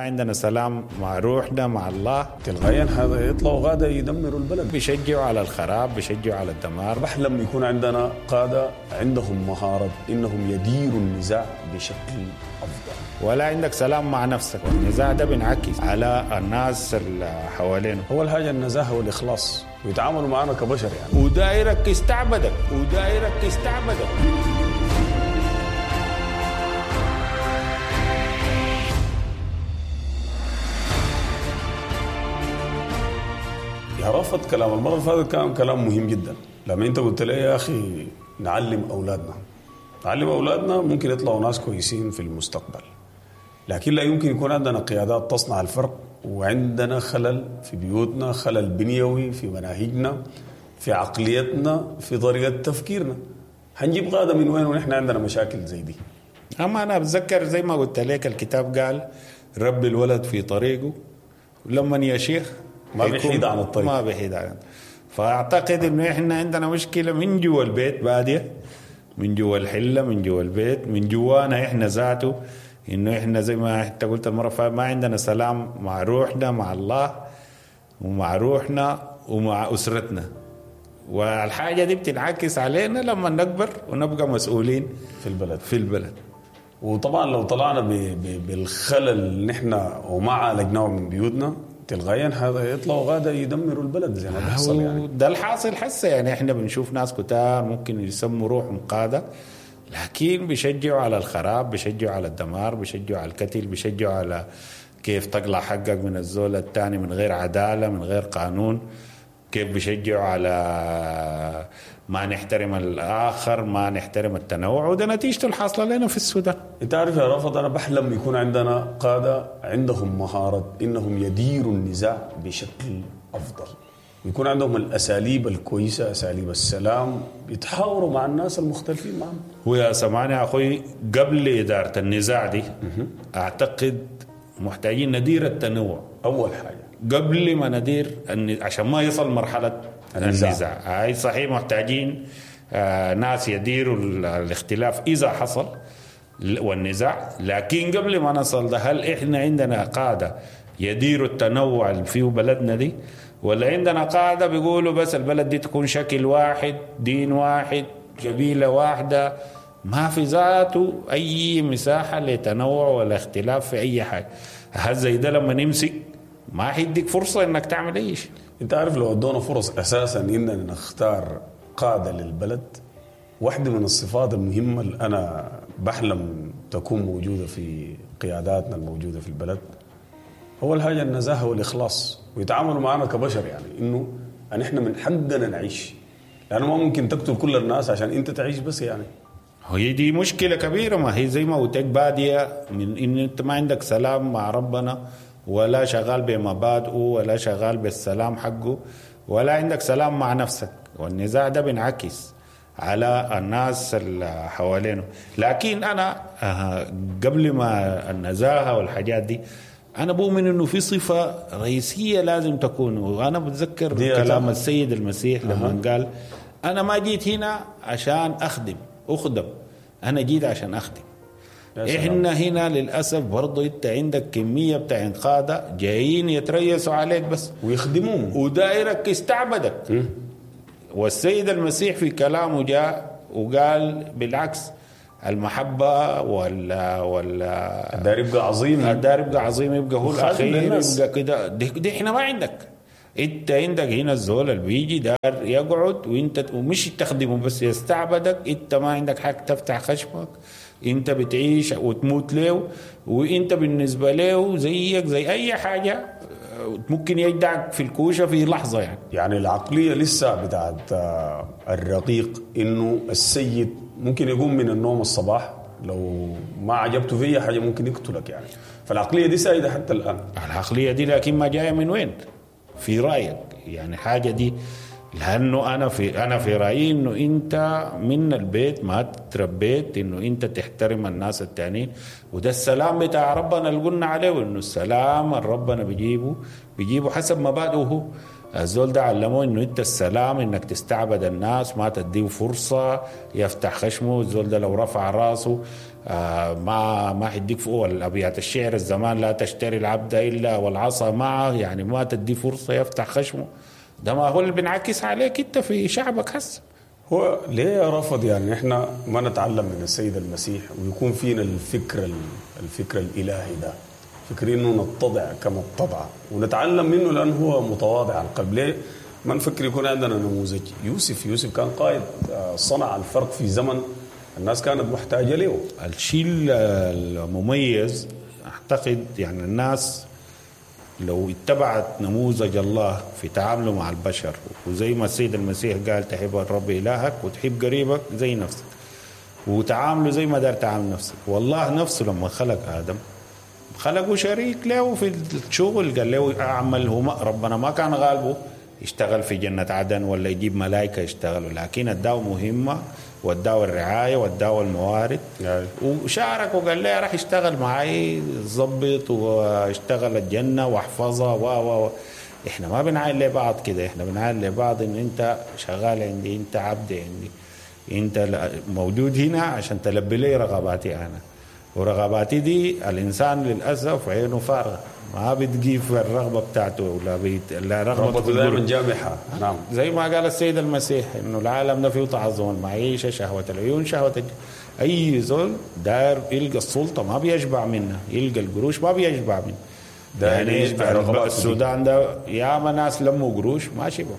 عندنا سلام مع روحنا مع الله. تلقائيا هذا يطلعوا غادة يدمروا البلد، بيشجعوا على الخراب، بيشجعوا على الدمار. بحلم يكون عندنا قادة عندهم مهارة إنهم يديروا النزاع بشكل أفضل. ولا عندك سلام مع نفسك، والنزاع ده بينعكس على الناس اللي حوالينه. أول حاجة النزاهة والإخلاص، ويتعاملوا معنا كبشر يعني. ودايرك يستعبدك، ودايرك يستعبدك. يا رفض كلام المرة اللي فاتت كان كلام مهم جدا. لما انت قلت لي يا اخي نعلم اولادنا، نعلم اولادنا ممكن يطلعوا ناس كويسين في المستقبل، لكن لا يمكن يكون عندنا قيادات تصنع الفرق وعندنا خلل في بيوتنا، خلل بنيوي في مناهجنا، في عقليتنا، في طريقة تفكيرنا. هنجيب قادة من وين ونحن عندنا مشاكل زي دي؟ اما انا بتذكر زي ما قلت لك الكتاب قال ربي الولد في طريقه لما يا شيخ ما بيحيد عن الطريق، ما بيحيد عن. فاعتقد انه احنا عندنا مشكلة من جوا البيت باديه، من جوا الحلة، من جوا البيت، من جوانا احنا ذاته، انه احنا زي ما انت قلت المرة فاتت ما عندنا سلام مع روحنا مع الله ومع روحنا ومع اسرتنا. والحاجة دي بتنعكس علينا لما نكبر ونبقى مسؤولين في البلد. وطبعا لو طلعنا بالخلل اللي نحن وما عالجناه من بيوتنا تلقائيا هذا يطلعوا غادة يدمروا البلد زي ما بيحصل يعني. ده الحاصل حسه يعني. احنا بنشوف ناس كتار ممكن يسموا روحهم قادة، لكن بيشجعوا على الخراب، بيشجعوا على الدمار، بيشجعوا على القتل، بيشجعوا على كيف تقلع حقك من الزول الثاني من غير عدالة، من غير قانون، كيف بيشجعوا على ما نحترم الآخر، ما نحترم التنوع. وده نتيجته الحاصلة لنا في السودان. انت عارف يا رافض، أنا بحلم يكون عندنا قادة عندهم مهارة إنهم يديروا النزاع بشكل أفضل، ويكون عندهم الأساليب الكويسة، أساليب السلام، يتحاوروا مع الناس المختلفين معهم. ويا سمعني يا أخوي، قبل إدارة النزاع دي أعتقد محتاجين ندير التنوع أول حاجة قبل ما ندير عشان ما يصل مرحلة النزاع. هاي صحيح محتاجين ناس يديروا الاختلاف إذا حصل والنزاع، لكن قبل ما نصل ده هل إحنا عندنا قادة يديروا التنوع اللي فيه بلدنا دي، ولا عندنا قادة بيقولوا بس البلد دي تكون شكل واحد، دين واحد، قبيلة واحدة، ما في ذاته أي مساحة لتنوع ولا اختلاف في أي حاجة؟ هذا زي ده لما نمسك ما حيديك فرصة إنك تعمل أي شيء. انت عارف لو ادونا فرص اساسا اننا نختار قادة للبلد، واحدة من الصفات المهمة اللي انا بحلم تكون موجودة في قياداتنا الموجودة في البلد، اول حاجة النزاهة والاخلاص، ويتعاملوا معنا كبشر يعني، انه نحن من حقنا نعيش، لانه ما ممكن تقتل كل الناس عشان انت تعيش بس يعني. هي دي مشكلة كبيرة. ما هي زي ما قلت لك بادية من ان انت ما عندك سلام مع ربنا، ولا شغال بمبادئه، ولا شغال بالسلام حقه، ولا عندك سلام مع نفسك. والنزاع ده بينعكس على الناس اللي حوالينه. لكن أنا قبل ما النزاهة والحاجات دي، أنا بؤمن إنه في صفة رئيسية لازم تكون. وأنا بتذكر كلام السيد المسيح لما قال أنا ما جيت هنا عشان أخدم، أنا جيت عشان أخدم. إحنا هنا للأسف برضو إنت عندك كمية بتاع قادة جايين يتريسوا عليك بس ويخدمون، ودائرك يستعبدك. والسيد المسيح في كلامه جاء وقال بالعكس، المحبة ولا الدار يبقى عظيم، الدار يبقى عظيم، يبقى هو الأخير، يبقى كده. دي إحنا ما عندك. انت عندك هنا الزول اللي بيجي دار يقعد وانت ومش تخدمه بس يستعبدك. انت ما عندك حق تفتح خشمك، انت بتعيش وتموت له، وانت بالنسبة له زيك زي اي حاجة ممكن يجدعك في الكوشة في لحظة يعني. يعني العقلية لسه بتاعت الرقيق، انه السيد ممكن يقوم من النوم الصباح لو ما عجبته فيه حاجة ممكن يقتلك يعني. فالعقلية دي سائدة حتى الآن. العقلية دي لكن ما جاية من وين في رأيك يعني حاجة دي؟ لأنه أنا في رأيي إنه أنت من البيت ما تربيت إنه أنت تحترم الناس التانيين، وده السلام بتاع ربنا اللي قلنا عليه، إنه السلام اللي ربنا بيجيبه حسب مبادئه هو. الزول ده علموه إنه أنت السلام إنك تستعبد الناس، ما تديه فرصة يفتح خشمه. الزول ده لو رفع راسه ما حيديك فوق الابيات الشعر الزمان، لا تشتري العبد الا والعصا معه، يعني ما تدي فرصة يفتح خشمه. ده ما هو اللي بينعكس عليك انت في شعبك هسه. هو ليه رفض يعني احنا ما نتعلم من السيد المسيح ويكون فينا الفكر الالهي ده، فكر انه نتضع كما اتضع ونتعلم منه لانه هو متواضع القلب. ليه ما نفكر يكون عندنا نموذج يوسف؟ يوسف كان قائد، صنع الفرق في زمن الناس كانت محتاجة له. الشيء المميز اعتقد يعني الناس لو اتبعت نموذج الله في تعامله مع البشر، وزي ما السيد المسيح قال تحب الرب إلهك وتحب قريبك زي نفسك، وتعامله زي ما دار تعامل نفسك. والله نفسه لما خلق آدم خلقه شريك له في الشغل، قال له أعمل، هو ربنا ما كان غالبه يشتغل في جنة عدن ولا يجيب ملائكة يشتغلوا، لكن اداه مهمة واداه الرعاية واداه الموارد يعني. وشارك وقال لي راح اشتغل معي ظبط واشتغل الجنة واحفظها و احنا ما بنعاين لبعض كده، احنا بنعاين لبعض ان انت شغال عندي، انت عبد عندي، انت موجود هنا عشان تلبي لي رغباتي انا، ورغباتي دي الانسان للاسف عينه فارغة، ما بتجيب الرغبة بتاعته ولا لا رغبة دائما جامحة. نعم، زي ما قال السيد المسيح إنه العالم ده فيه تعظم المعيشة، شهوة العيون، شهوة أي زول داير يلقى السلطة ما بيشبع منها، يلقى القروش ما بيشبع منها. يعني السودان ده ياما ناس لموا قروش ما شبعوا،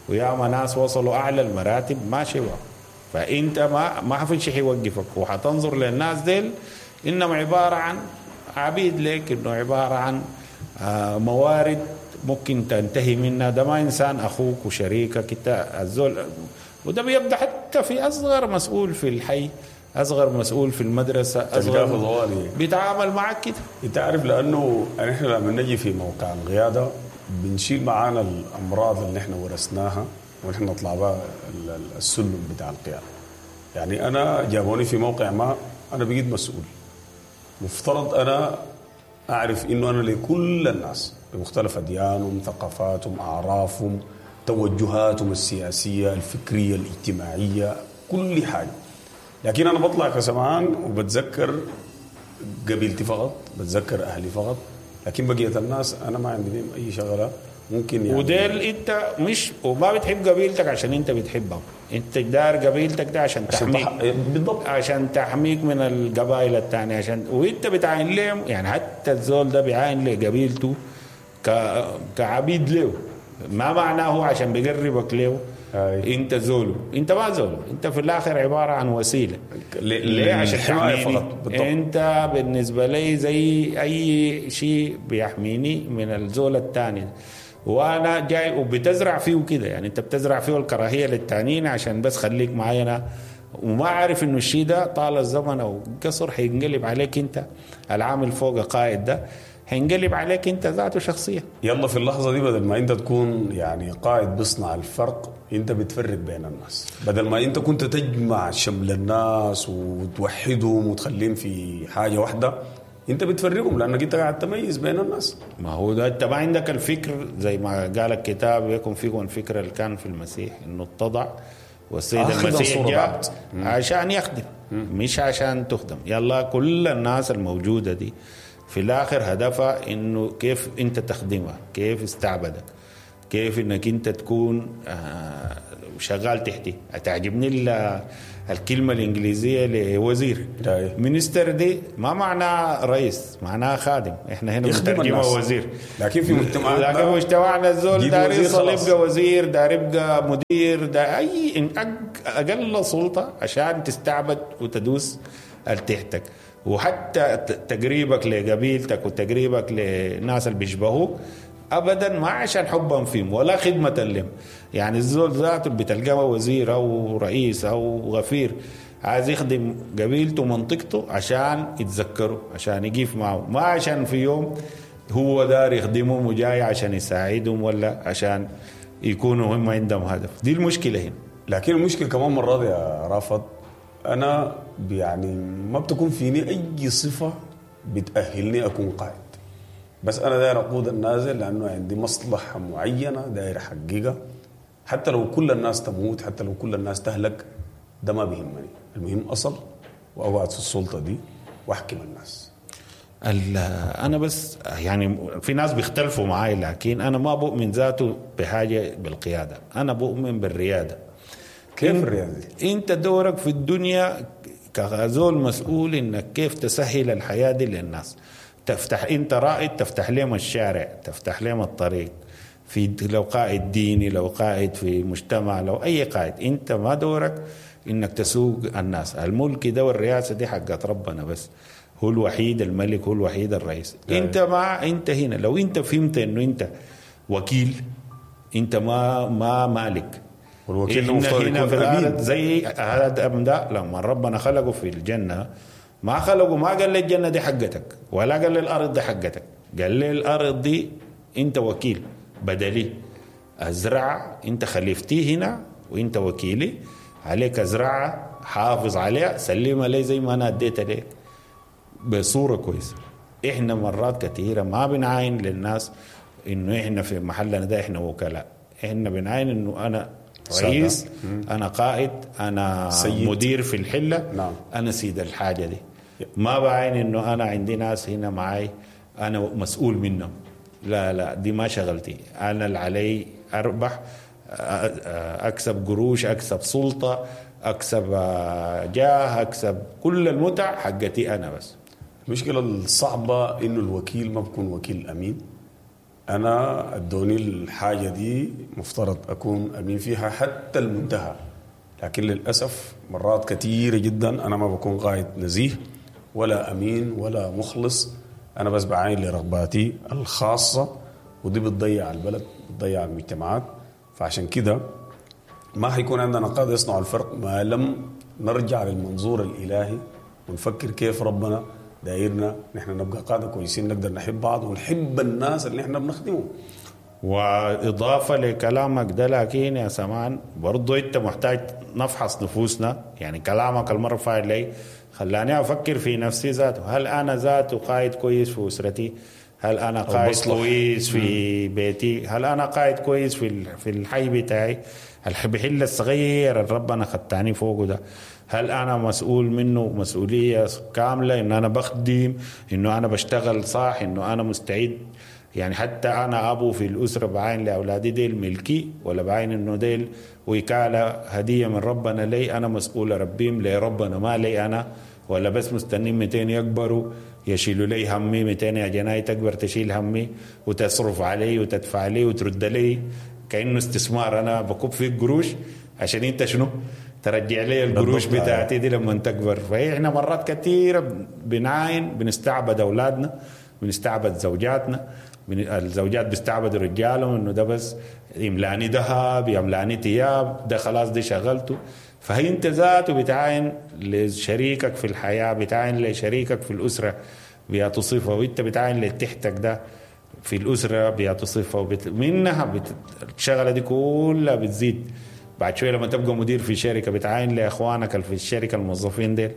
وياما ناس وصلوا أعلى المراتب ما شبعوا. فأنت ما في شيء يوقفك، وحتنظر للناس ديل إنهم عبارة عن عبيد لك، إنه عبارة عن موارد ممكن تنتهي منها. ده ما إنسان أخوك وشريكك انت الزول، وده بيبدأ حتى في أصغر مسؤول في الحي، أصغر مسؤول في المدرسة، أصغر بيتعامل معك كده. أنت عارف، لأنه نحن لما نجي في موقع القيادة بنشيل معانا الأمراض اللي نحن ورثناها ونحن نطلع بها السلم بتاع القيادة. يعني أنا جابوني في موقع ما، أنا بقيت مسؤول، مفترض أنا أعرف إنه أنا لكل الناس بمختلف أديانهم، ثقافاتهم، أعرافهم، توجهاتهم السياسية، الفكرية، الاجتماعية، كل حاجة. لكن أنا بطلع كسمعان وبتذكر قبيلتي فقط، بتذكر أهلي فقط، لكن بقية الناس أنا ما عندي بهم أي شغلة ممكن يعني. وديل أنت مش وما بتحب قبيلتك عشان أنت بتحبهم، أنت دار قبيلتك ده عشان تحميك. بالضبط، عشان تحميك من القبائل الثانية، عشان وأنت بتعاين لهم. يعني حتى الزول ده بيعاين لقبيلته كعبيد له، ما معناه عشان بيقربك له انت زوله، انت ما زوله، انت في الاخر عبارة عن وسيلة. ليه؟ عشان تحميني. انت بالنسبة لي زي اي شيء بيحميني من الزول الثاني، وانا جاي وبتزرع فيه كده. يعني انت بتزرع فيه الكراهية للتانيين عشان بس خليك معي انا، وما عارف انه الشيء ده طال الزمن او قصر حينقلب عليك انت، العامل فوق قائد ده هينقلب عليك انت ذاته شخصيا. يلا في اللحظة دي بدل ما انت تكون يعني قائد بيصنع الفرق، انت بتفرق بين الناس. بدل ما انت كنت تجمع شمل الناس وتوحدهم وتخليهم في حاجة واحدة، انت بتفرقهم لانك انت قاعد تميز بين الناس. ما هو ده، انت ما عندك الفكر زي ما قال الكتاب يكون فيكم الفكر اللي كان في المسيح، انه اتضع والسيد المسيح جاء عشان يخدم مش عشان تخدم. يلا كل الناس الموجودة دي في الآخر هدفها إنه كيف أنت تخدمها، كيف استعبدك، كيف إنك أنت تكون شغال تحتي. تعجبني الكلمة الإنجليزية لوزير minister دي، ما معناه رئيس، معناه خادم. إحنا هنا بنترجمها وزير، لكن في مجتمعنا، لكن مجتمعنا الزول دار يصل يبقى وزير، دار يبقى مدير، دار أي أقل سلطة عشان تستعبد وتدوس تحتك. وحتى تقريبك لقبيلتك وتقريبك للناس اللي بيشبهوك ابدا ما عشان حبا فيهم ولا خدمة لهم. يعني الزول ذاته بتلقاه وزير او رئيس او غفير عايز يخدم قبيلته ومنطقته عشان يتذكروا، عشان يقف معه، ما عشان في يوم هو دار يخدمهم وجاي عشان يساعدهم ولا عشان يكونوا هم عندهم هدف. دي المشكلة هنا. لكن المشكلة كمان مرات يا رافض، أنا يعني ما بتكون فيني أي صفة بتأهلني أكون قائد، بس أنا داير أقود النازل لأنه عندي مصلحة معينة داير أحققها، حتى لو كل الناس تموت، حتى لو كل الناس تهلك، ده ما بيهمني. المهم أصل واقعد في السلطة دي واحكم الناس. انا بس يعني في ناس بيختلفوا معاي، لكن انا ما بؤمن ذاته بحاجة بالقيادة، انا بؤمن بالرياده. كيف الرياده دي؟ انت دورك في الدنيا كزول مسؤول انك كيف تسهل الحياة دي للناس، تفتح انت رائد، تفتح لهم الشارع، تفتح لهم الطريق، في لو قائد ديني، لو قائد في مجتمع، لو اي قائد، انت ما دورك انك تسوق الناس. الملك ده والرئاسه دي حقت ربنا بس، هو الوحيد الملك، هو الوحيد الرئيس. انت ما انت هنا لو انت فهمت انه انت وكيل، انت ما مالك. والوكيل المفترض هنا يكون في الأرض امين. زي ادم ده لما ربنا خلقه في الجنة، ما خلقه ما قال لي الجنة دي حقتك، ولا قال لي الارض دي حقتك، قال لي الارض دي انت وكيل بدلي، ازرع انت خليفتي هنا وانت وكيلي عليك، ازرعها، حافظ عليها، سلمها لي زي ما انا اديتها لك بصورة كويسة. احنا مرات كثيرة ما بنعاين للناس انه احنا في محلنا ده احنا وكلاء، احنا بنعاين انه انا رئيس، انا قائد، انا سيد. مدير في الحلة، نعم. انا سيد الحاجة دي. ما بعاين انه انا عندي ناس هنا معي انا مسؤول منهم، لا لا دي ما شغلتي، انا اللي علي اربح، اكسب قروش، اكسب سلطة، اكسب جاه، اكسب كل المتع حقتي انا بس. المشكلة الصعبة انه الوكيل ما بكون وكيل امين. انا ادوني الحاجة دي مفترض اكون امين فيها حتى المنتهى، لكن للاسف مرات كثيرة جدا انا ما بكون قائد نزيه ولا امين ولا مخلص، انا بس بعاين لرغباتي الخاصة، ودي بتضيع البلد، بتضيع المجتمعات. فعشان كده ما حيكون عندنا قادة يصنعوا الفرق ما لم نرجع للمنظور الإلهي ونفكر كيف ربنا دايرنا نحن نبقى قادة كويسين، نقدر نحب بعض ونحب الناس اللي نحن بنخدمهم. وإضافة لكلامك ده، لكن يا سمان برضو أنت محتاج نفحص نفوسنا. يعني كلامك المرة فايت لي خلاني أفكر في نفسي ذاته، هل أنا ذاته قائد كويس في أسرتي؟ هل أنا قائد كويس في بيتي؟ هل أنا قائد كويس في الحي بتاعي، الحل الصغير اللي ربنا خدتاني فوقه ده؟ هل أنا مسؤول منه مسؤولية كاملة، إنه أنا بخدم، إنه أنا بشتغل صح، إنه أنا مستعد؟ يعني حتى أنا أبو في الأسرة بعين لأولادي ديل ملكي، ولا بعين إنه ديل وكالة هدية من ربنا لي، أنا مسؤول أربيهم لربنا ما لي أنا، ولا بس مستنين 200 يكبروا يشيلوا لي همي، 200 يا جناي تكبر تشيل همي وتصرف علي وتدفع لي وترد لي كأنه استثمار، أنا بكب فيك قروش عشان أنت شنو ترجع لي القروش بتاعتي دي لما تكبر. فإحنا مرات كثيرة بنعاين، بنستعبد أولادنا، بنستعبد زوجاتنا، الزوجات بيستعبدوا رجالهم انه ده بس يملاني ذهب، يملاني ثياب، ده خلاص دي شغلته. فهي انت ذاته بتعاين لشريكك في الحياة، بتعاين لشريكك في الاسرة بيعطوا صفة، وانت بتعاين لتحتك ده في الاسرة بيعطوا صفة، منها الشغلة دي كلها بتزيد. بعد شوية لما تبقى مدير في شركة بتعاين لاخوانك اللي في الشركة الموظفين ديل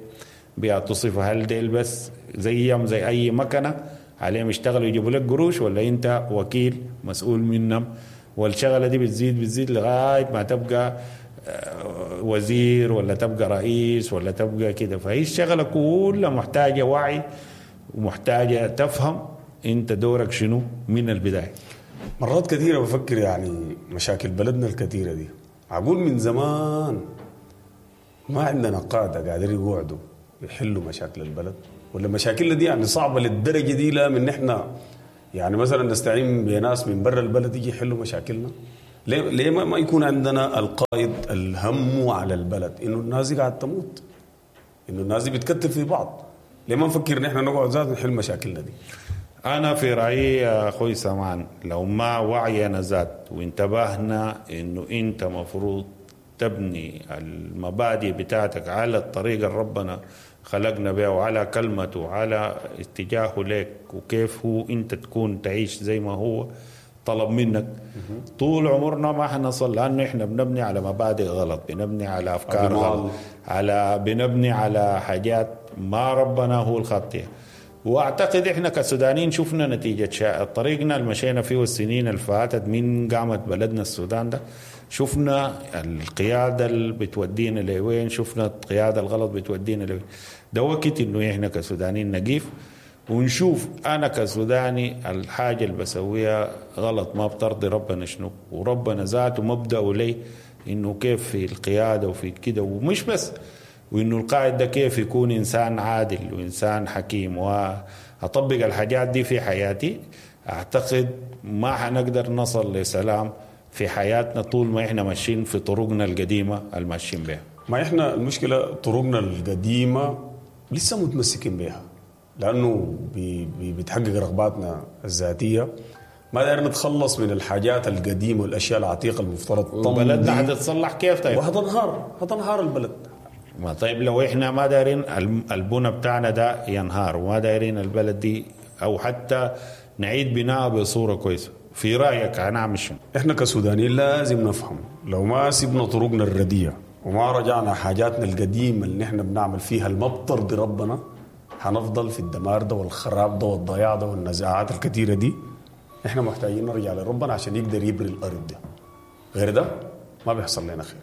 بيعطوا صفة، هل ديل بس زيهم زي اي مكنه عليهم يشتغلوا يجيبوا لك قروش، ولا انت وكيل مسؤول منهم؟ والشغله دي بتزيد لغاية ما تبقى وزير ولا تبقى رئيس ولا تبقى كده. فهي الشغلة كلها محتاجه وعي ومحتاجة تفهم انت دورك شنو من البداية. مرات كثيرة بفكر يعني مشاكل بلدنا الكثيرة دي، اقول من زمان ما عندنا قاده قادرين يقعدوا يحلوا مشاكل البلد، ولا مشاكلنا دي يعني صعبة للدرجة دي، لا من نحن يعني مثلا نستعين بناس من برا البلد يجي يحلوا مشاكلنا. ليه ما يكون عندنا القائد الهم على البلد، انه الناس دي قاعدة تموت، انه الناس دي بتكتل في بعض؟ ليه ما نفكر نحن نقعد ذات نحل مشاكلنا دي؟ انا في رايي يا اخوي سمان، لو ما وعينا ذات وانتبهنا انه انت مفروض تبني المبادئ بتاعتك على الطريقة اللي ربنا خلقنا بها وعلى كلمته وعلى اتجاهه لك، وكيف هو انت تكون تعيش زي ما هو طلب منك، طول عمرنا ما حنصل، لانه احنا بنبني على مبادئ غلط، بنبني على افكار غلط، بنبني على حاجات ما ربنا هو الخطية. واعتقد احنا كسودانيين شفنا نتيجة طريقنا اللي مشينا فيه السنين اللي فاتت من قامت بلدنا السودان ده، شفنا القيادة اللي بتودينا لوين، شفنا القيادة الغلط بتودينا لوين. ده وقت انه احنا كسودانيين نقيف ونشوف انا كسوداني الحاجة اللي بسويها غلط ما بترضي ربنا شنو، وربنا ذاته مبدأه لي انه كيف في القيادة وفي كده، ومش بس وانه القائد ده كيف يكون انسان عادل وانسان حكيم، واطبق الحاجات دي في حياتي. اعتقد ما حنقدر نصل لسلام في حياتنا طول ما احنا ماشيين في طرقنا القديمة الماشيين بها. ما احنا المشكلة طرقنا القديمة لسه متمسكين بها، لانه بي بتحقق رغباتنا الذاتية. ما داير نتخلص من الحاجات القديمة والاشياء العتيقة المفترض بلدنا حتتصلح كيف طيب؟ وحتنهار، حتنهار البلد. ما طيب لو احنا ما دايرين البنى بتاعنا ده ينهار، وما دايرين البلد دي او حتى نعيد بناءها بصورة كويسة، في رايك هنعمل شنو؟ احنا كسودانيين لازم نفهم لو ما سيبنا طرقنا الرديه وما رجعنا حاجاتنا القديمة اللي احنا بنعمل فيها اللي ما بترضي ربنا، هنفضل في الدمار ده والخراب ده والضياع ده والنزاعات الكثيرة دي. احنا محتاجين نرجع لربنا عشان يقدر يبري الارض ده، غير ده ما بيحصل لنا خير.